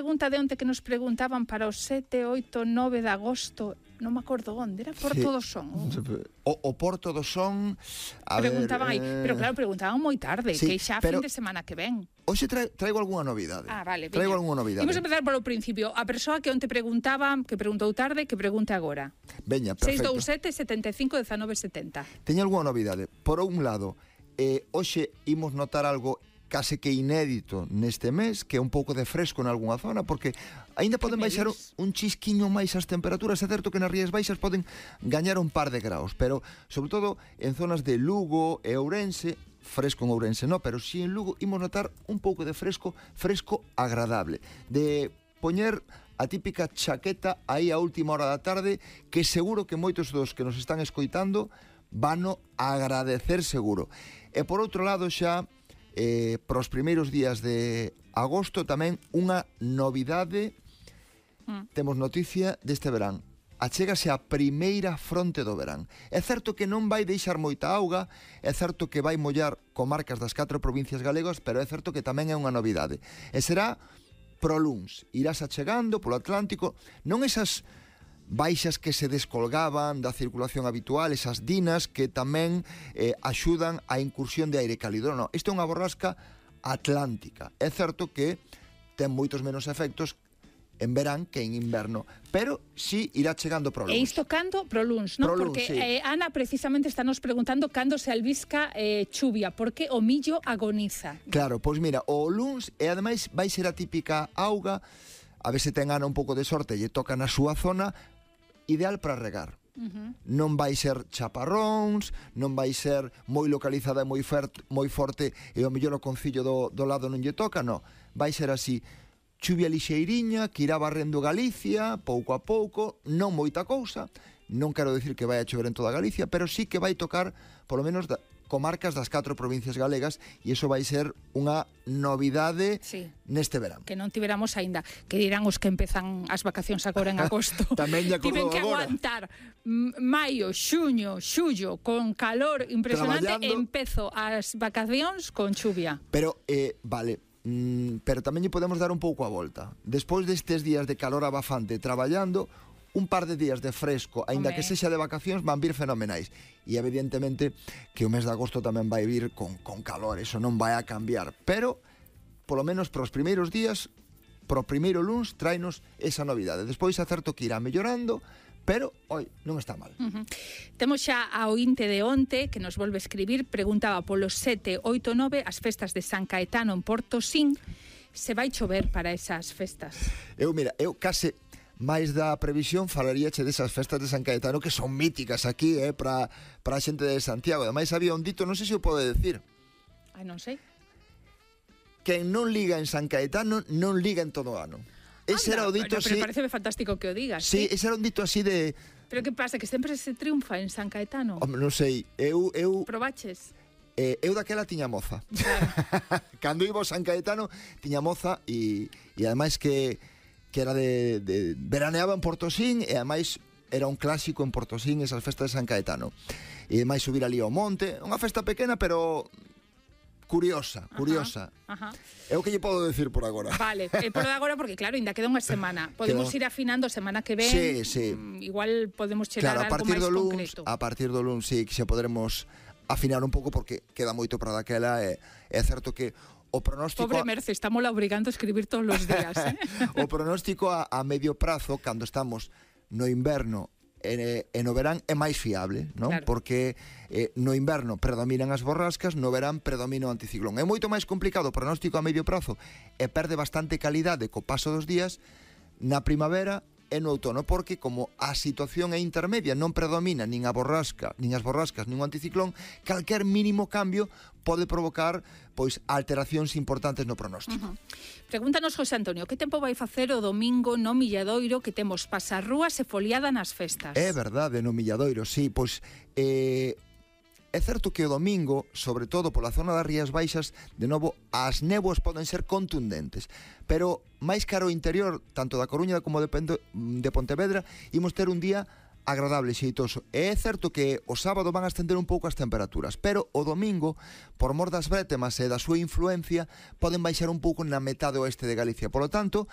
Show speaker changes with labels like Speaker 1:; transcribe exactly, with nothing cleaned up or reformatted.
Speaker 1: pregunta de onte que nos preguntaban para o sete, oito, nove de agosto, non me acordo onde, era Porto sí. do Son.
Speaker 2: O, o Porto do Son, a
Speaker 1: preguntaban
Speaker 2: ver,
Speaker 1: aí, eh... pero claro, preguntaban moi tarde, sí, que xa pero... fin de semana que ven.
Speaker 2: Hoxe tra traigo algunha novidade.
Speaker 1: Ah, vale,
Speaker 2: traigo algunha novidade.
Speaker 1: Imos empezar polo principio. A persoa que onte preguntaba, que preguntou tarde, que pregunte agora.
Speaker 2: Veña, perfecto.
Speaker 1: seis dous sete, setenta e cinco, dezanove setenta.
Speaker 2: Teño algunha novidade. Por un lado, eh, hoxe imos notar algo case que inédito neste mes, que é un pouco de fresco en algunha zona, porque aínda poden baixar un chisquiño máis as temperaturas. É certo que nas Rías Baixas poden gañar un par de graus, pero sobre todo en zonas de Lugo e Ourense, fresco en Ourense no, pero si en Lugo imos notar un pouco de fresco, fresco agradable, de poñer a típica chaqueta aí a última hora da tarde, que seguro que moitos dos que nos están escoitando vano agradecer seguro. E por outro lado xa, Eh, para os primeiros días de agosto tamén unha novidade. mm. Temos noticia deste verán. Achégase a primeira fronte do verán. É certo que non vai deixar moita auga, é certo que vai mollar comarcas das catro provincias galegas, pero é certo que tamén é unha novidade. E será pro luns. Irás achegando polo Atlántico, non esas baixas que se descolgaban da circulación habitual, esas dinas que tamén eh, axudan á incursión de aire cálido. Non, isto é unha borrasca atlántica. É certo que ten moitos menos efectos en verán que en inverno, pero sí irá chegando pro luns.
Speaker 1: E isto cando? Pro luns, non?
Speaker 2: Pro luns,
Speaker 1: porque
Speaker 2: sí.
Speaker 1: eh, Ana precisamente está nos preguntando cando se albisca eh, chuvia, porque o millo agoniza.
Speaker 2: Claro, pois mira, o luns, e ademais vai ser a típica auga, a ver se ten Ana un pouco de sorte e lle toca na súa zona, ideal para regar. Uh-huh. Non vai ser chaparróns, non vai ser moi localizada e moi, moi forte e o mellor o concillo do, do lado non lle toca, non. Vai ser así, chuvia lixeiriña que irá barrendo Galicia pouco a pouco, non moita cousa, non quero dicir que vai a chover en toda Galicia, pero sí que vai tocar polo menos da, comarcas das catro provincias galegas, e iso vai ser unha novidade sí. neste verán.
Speaker 1: Que non tiveramos aínda, que dirán os que empezan as vacacións agora en agosto.
Speaker 2: Tamén lle acordou agora.
Speaker 1: Tiven que aguantar maio, xuño, xullo con calor impresionante e empezo as vacacións con chuvia.
Speaker 2: Pero, eh, vale, mm, pero tamén lle podemos dar un pouco a volta. Despois destes días de calor abafante traballando, un par de días de fresco, aínda que sexa de vacacións, van vir fenomenais. E evidentemente que o mes de agosto tamén vai vir con, con calor, eso non vai a cambiar. Pero, polo menos para os primeiros días, pro primeiro luns, tráenos esa novidade. Despois é certo que irá mellorando, pero, oi, non está mal.
Speaker 1: Uh-huh. Temos xa a ointe de onte, que nos volve a escribir, preguntaba polo sete, oito, nove, as festas de San Caetano en Portosín, se vai chover para esas festas?
Speaker 2: Eu, mira, eu case... máis da previsión falaríache desas festas de San Caetano que son míticas aquí, eh, para a xente de Santiago. Ademais había un dito, non sei se o pode decir.
Speaker 1: Ai, non sei.
Speaker 2: Quen non liga en San Caetano non liga en todo o ano. Ese
Speaker 1: Anda,
Speaker 2: era o dito
Speaker 1: pero,
Speaker 2: así.
Speaker 1: Pero parece fantástico que o digas.
Speaker 2: Sí,
Speaker 1: ¿sí?
Speaker 2: Ese era un dito así de...
Speaker 1: Pero que pasa, que sempre se triunfa en San Caetano?
Speaker 2: Home, non sei, eu... eu...
Speaker 1: Probaches?
Speaker 2: Eh, eu daquela tiña moza.
Speaker 1: Claro.
Speaker 2: Cando iba ao San Caetano tiña moza e, e ademais que... que era de, de veraneaba en Portosín e ademais era un clásico en Portosín esas festas de San Caetano, e ademais subir ali ao monte, unha festa pequena pero curiosa, curiosa.
Speaker 1: Ajá, ajá.
Speaker 2: É o que lle podo decir por agora.
Speaker 1: Vale, é por agora porque claro, ainda queda unha semana. Podemos
Speaker 2: Quedou...
Speaker 1: ir afinando a semana que ven.
Speaker 2: Sí, sí.
Speaker 1: Igual podemos chegar
Speaker 2: claro,
Speaker 1: a algo máis
Speaker 2: do luns,
Speaker 1: concreto.
Speaker 2: A partir do luns sí que xa poderemos afinar un pouco porque queda moito para daquela e é certo que o pronóstico...
Speaker 1: Pobre Merce, estamos la obrigando a escribir todos los días, ¿eh?
Speaker 2: O pronóstico a, a medio prazo, cando estamos no inverno e, e no verán, é máis fiable, non? Claro. Porque eh, no inverno predominan as borrascas, no verán predomina o anticiclón. É moito máis complicado o pronóstico a medio prazo e perde bastante calidade co paso dos días na primavera e no outono, porque como a situación é intermedia, non predomina nin a borrasca, nin as borrascas, nin o anticiclón, calquer mínimo cambio pode provocar pois alteracións importantes no pronóstico. Uh-huh.
Speaker 1: Pregúntanos José Antonio, que tempo vai facer o domingo no Milladoiro, que temos pasarrúas e foliada nas festas?
Speaker 2: É verdade, no Milladoiro, sí, pois eh é certo que o domingo, sobre todo pola zona das Rías Baixas, de novo, as néboas poden ser contundentes, pero máis caro o interior, tanto da Coruña como de, Pento, de Pontevedra, imos ter un día agradable, xeitoso. E é certo que o sábado van a estender un pouco as temperaturas, pero o domingo, por mor das brétemas e da súa influencia, poden baixar un pouco na metade oeste de Galicia. Por lo tanto,